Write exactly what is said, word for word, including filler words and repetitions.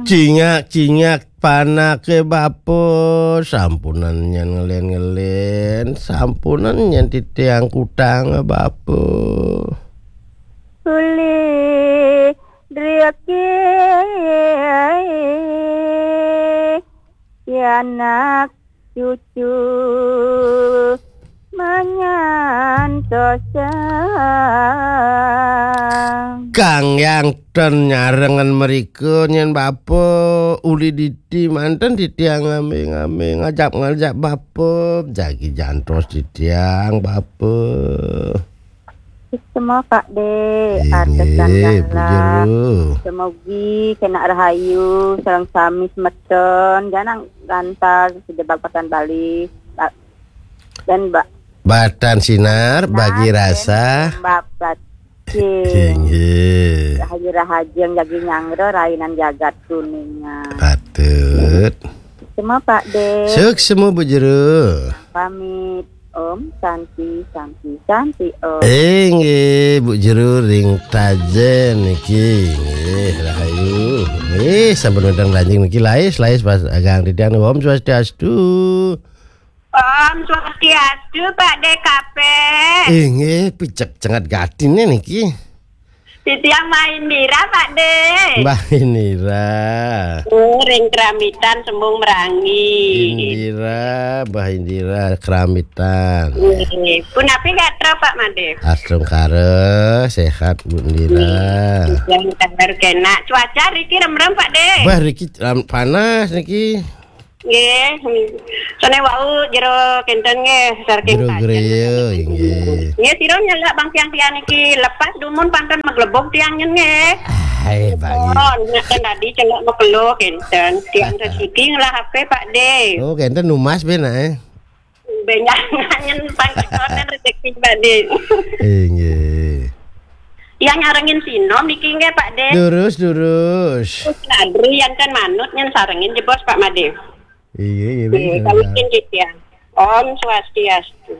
Cingak-cingak panake bapa, sampunang nyén ngelén-ngelén, sampunang nyén titiang kutang bapa. Ulih driki anak cucu manyantosang. Kang Yang ten nyarengan mrika nyén bapa uli diti manten titiang ngambe-ngambe ngajap-ngajap bapa jagi jantos titiang bapa. Semua Pak De, artis dan Inggih, Bu galah. Jero. Semogi kena rahayu, sareng sami semeton, jangan gantal sejebak patan Bali. Ba-, dan Mbak Batan sinar, bagi Nah, rasa. Mbak Bat. Inggih. Rahayu-rahayu yang jagi nyanggra rainan jagat kuningan. Patut. Semua Pak De. Suksma Bu Jero. Pamit. Om Santi, Santi, Santi Om. Inggih, Bu Jero ring Tajen niki. Inggih, rahayu. Nggih, sampun wénten lanjing niki lais, lais pas agang titiang Om Swastiastu. Om Swastiastu, Pak De Kape. Inggih, picek cengat gatine niki. Titiang Mbah Indira, Pak De. Mbah Indira. Oh, ring Keramitan, Sembung Merangi. Indira, Mbah Indira, Keramitan. Nggih. Punapi gatra, Pak Made? Astungkara, sehat, Bu Indira. Nggih. Titiang kabar kenak. Cuaca riki remrem, Pak De. Mbah, riki ram-, panas niki. Nggih. Sone wau jero kenten nggih, saking Jero Tajen. Griya, nggih. Nggih, sira nyelak bang tiang-tiang niki lepas dumun panten maglebug tiang nyen nggih. Hai, Bang. Oh, ngeten tadi celok makelo kenten. Tiang resiki ngelah H P, Pak De. Oh, kenten numas ben, eh? Benjang nyen pangkitonen rezeki, Pak De. Inggih. Yang nyarengin sinom niki nggih, Pak De. Lurus, lurus. Terus ladri yang kan manut nyen sarengin jebos, Pak Made. Iya, iya, Nggih, iya, kami iya. Izin, Cik, ya. Om Swastiastu.